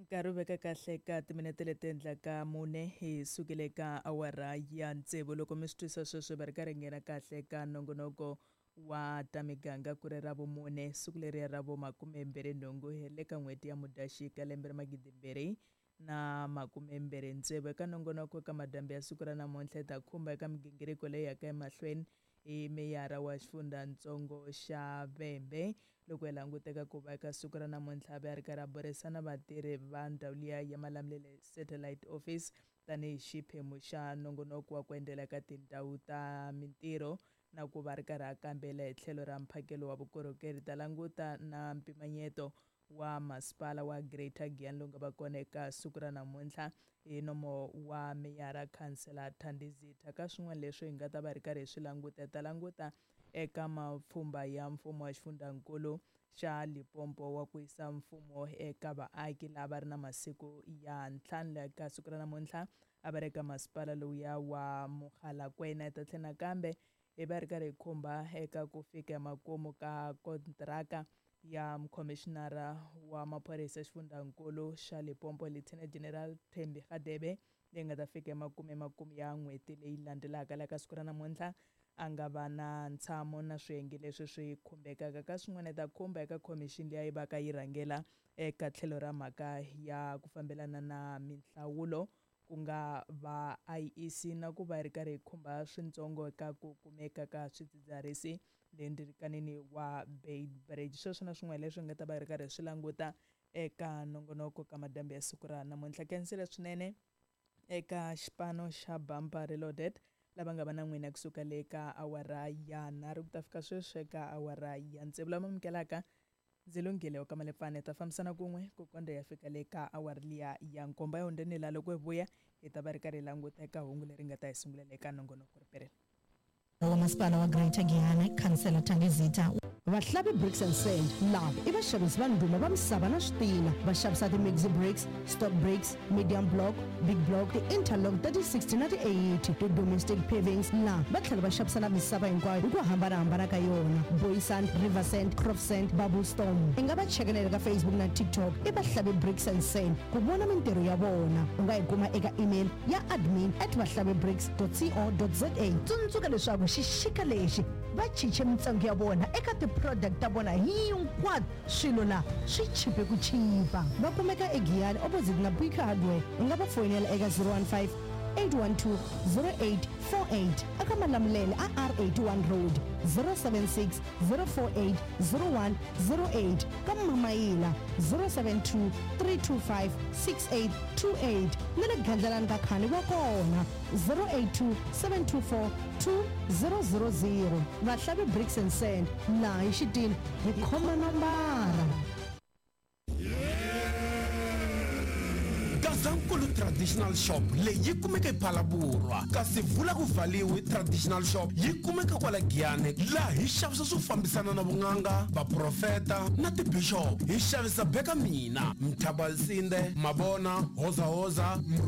Nkarhi wu veka kahle ka timinete leti endlaka mune hi sukile ka awara ya tsevu. Loko mi swi twisa sweswo va ri karhi nghena kahle ka nongonoko wa ta miganga ku ri ra vumune, siku leriya ra vo 28 hi le ka n'hweti ya Mudyaxika lembe ra 2026. Eka nongonoko ka madyambu ya siku ra namuntlha hi ta khumba eka migingiriko leyi yaka emahlweni hi meyara wa xifundzhantsongo xa Vhembe. Loko hi languteka ku va eka siku ra namuntlha a ve a ri karhi a burisana vatirhi va ndhawu liya ya Malamulele Satellite Office tanihi xiphemu xa nongonoko wa ku endzela ka tindhawu ta mintirho na ku va ri karhi a kambela hi tlhelo ra mphakelo wa vukorhokeri. Ta languta na mpimanyeto wa masipala wa Greater Giyani lowu nga va kona eka siku ra namuntlha hi nomo wa meyara Khansela Thandi Zitha. Ka swin'wana leswi hi nga ta va ri karhi hi swi languta, hi ta languta eka mapfhumba ya mfumo wa xifundzhankulu xa Limpopo wa ku yisa mfumo eka vaaki lava ri na masiku ya 5. Eka siku ra namuntlha a va ri eka masipala lowuya wa Mogalakwena. Hi ta tlhela nakambe hi va ri karhi hi khumba eka ku fika emakumu ka kontraka ya mukhomishinara wa maphorisa xifundzhankulu xa Limpopo Lieutenant General Thembi Radebe leyi nga ta fika emakumu emakumu ya n'hweti leyi landzelaka. Laha ka siku ra namuntlha a nga va na ntshamo na swiyenge leswi swi khumbekaka. Ka swin'wana hi ta khumba eka khomixini leyi va ka yi rhangela eka tlhelo ra mhaka ya ku fambelana na minhlawulo ku nga va IEC na ku va ri karhi hi khumba swintsongo eka ku kumeka ka swidzidziharisi le ndirikanini wa Beitbridge. Sweswo na swin'wana leswi nga ta va ri karhi swi languta eka nongonoko ka madyambu ya siku ra namuntlha. Kensile swinene eka xipano xa Bumper Reloaded lava nga va na n'wina kusuka le ka awara ya 3 ku ta fika sweswi eka awara ya 6. Lava amukelaka ndzi lunghile wa ka Malepfane, ta fambisana kun'we ku kondza ya fika le ka awara liya ya 7. Ya hundzeni la loko hi vuya hi ta va ri karhi hi languta eka hungu leri nga ta hi sungulela eka nongonoko ri Wa masipala wa Greater Giyani, Khansela Thandi Zitha. Vahlavi Bricks and Sand lava i vaxavisi va ndhuma va misava na switina. Va xavisa ti-mixi bricks, stock bricks, medium block, big block, ti-interlock ta ti-60 na ti-80, ti-domestic pavings la va tlhela va xavisa na misava hinkwayo hi ku hambana-hambana ka yona, boy sand, river sand, crop sand, bubble storm. I nga va cheka na le ka Facebook na TikTok i Vahlavi Bricks and Sand ku vona mintirho ya vona. U nga yi kuma eka email ya admin at vahlavibricks dot co dot za. Tsundzuka leswaku xixika lexi va chiche mintsengo ya vona eka ti-product ta vona hinkwato, swilo la swi chipe ku chipa. Va kumeka eGiyani opposite na Buika Hardware. U nga va foyinela eka 015 812 0848 eka Malamulele a R81 Road, 076 048 0108 ka Mamayila, 072 325 6828 na le Gandlalani ka Khani va kona, 082 724 2000. Vahlavi Bricks and Sand, laha hi xitini hi khoma nombara. Gazankulu Traditional Shop leyi yi kumeka ePhalaborwa, kasi Vula ku Valiwi Traditional Shop yi kumeka kwala Giyani, laha hi xavisa swo fambisana na vun'anga, vaprofeta na tibishop. Hi xavisa beka mina, Mthabalsinde, Mabona, Hozahoza,